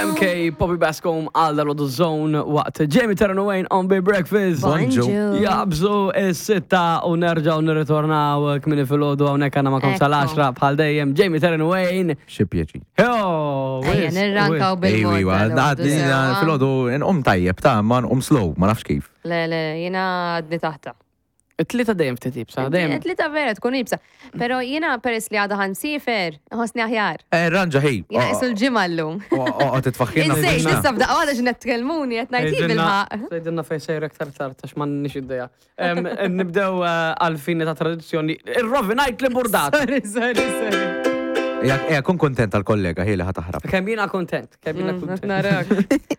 MK Poppy Bascom għal dal Zone waqt Jamie Terran Wayne on Big Breakfast. Bonġu. Jabżu is-sitta u nerġaw nirritornaw kmini fil-ħodu hawnhekk għandna magħkom sal-10 bħal dejjem Jamie Terran Wayne. Xi pjaċi. Jo, Ejja, nirrankaw bil-mod. Ejwa, fil-ħodu nqum tajjeb ta' ma nqum slow, ma nafx kif. Le, le, jiena għadni taħta. It-tlieta dejjem ftit ibsa, dejjem. It-tlieta vera tkun ibsa. Pero jiena peress li għada ħan sifer, ħossni aħjar. Eh, ranġa ħi. Jiena qisu l-ġimgħa llum. Oqgħod titfaħħilna. Insejt, issa f'daqqa waħda x'qed tkellmuni qed ngħid hi bil-ħaqq. Tgħidilna fejn sejra aktar tard għax m'għandniex idea. Nibdew eh, għal-fini ta' tradizzjoni. Ir-rovinajt li burdat. Sorry, sorry, sorry. Ejja, kun kontent għal-kollega ħi li ħa taħrab. Kemm jiena kontent, kemm jiena Mm, kontent. Narak.